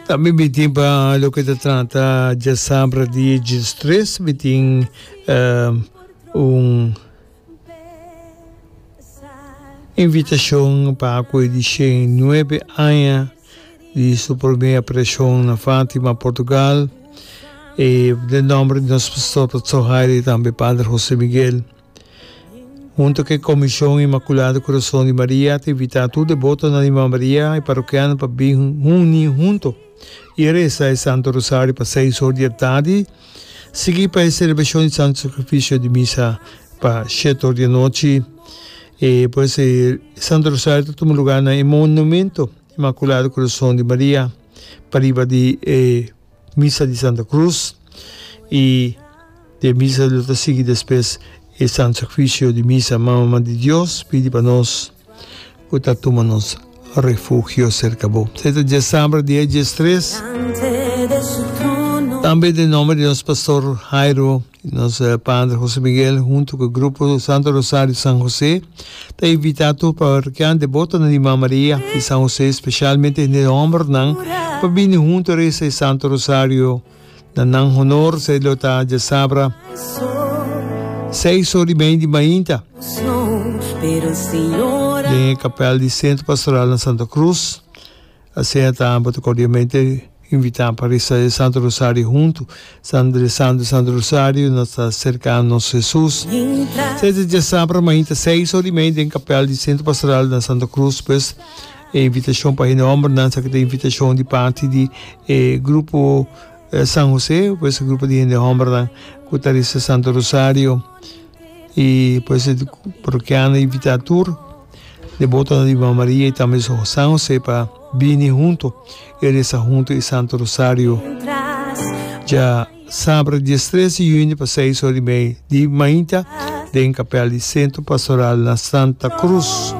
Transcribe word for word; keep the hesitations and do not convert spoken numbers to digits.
Tambe mi tin pa loke ta trata djasabra dia diestres, mi tin un invitashon pa ku e di shen nuebe aña di su promé aparishon na Fátima, Portugal. E den nòmber di nos pastor Pastor Jairo i tambe Padre José Miguel. Hunto ku e Komishon Inmakulado Kurason di Maria ta invitá tur debotonan di Mama Maria i parokiano pa bin huni hunto i resa e Santo Rosario pa seis or di atardi, sigui pa e selebrashon di Santo Sakrifisio di Misa pa shete or di anochi. E pues e Santo Rosario ta tuma lugá na e Monumento Inmakulado Kurason di Maria pariba di e Misa di Santa Cruz i den misa lo ta sigui despues e Santo Sacrificio di Misa. Mama di Dios, pidi pa nos cu ta tuma nos refugio cerca bo. Esei ta diasabra dia diestres. Tambe den nomber di nos Pastor Jairo i nos Padre Jose Miguel hunto cu e grupo Santo Rosario San Jose ta invita tur parrokian debotonan di Mama Maria di San Jose, specialmente hende hombernan, pa bini hunto reza e Santo Rosario na nan honor. Esei lo ta djasabra seis or i mei di mainta den e kapel di Centro Pastoral na Santa Cruz. Asina ta bo ta cordialmente invita pa reza e Santo Rosario hunto. San rezando e Santo Rosario nos ta acerca nos Jesus. Sete djasabra mainta seis ora y mei den kapel di Centro Pastoral na Santa Cruz. Pues e invitacion pa hende hombernan sa ta invitacion di parti di e grupo San Jose, pues e grupo di hende hombernan cu ta reza Santo Rosario. Y pues e parrokiano invita tur debotonan di Mama Maria y tambe San Jose pa bini hunto y reza hunto e Santo Rosario dja sabra diestres di juni pa seis ora y mei di mainta den kapel di Centro Pastoral na Santa Cruz.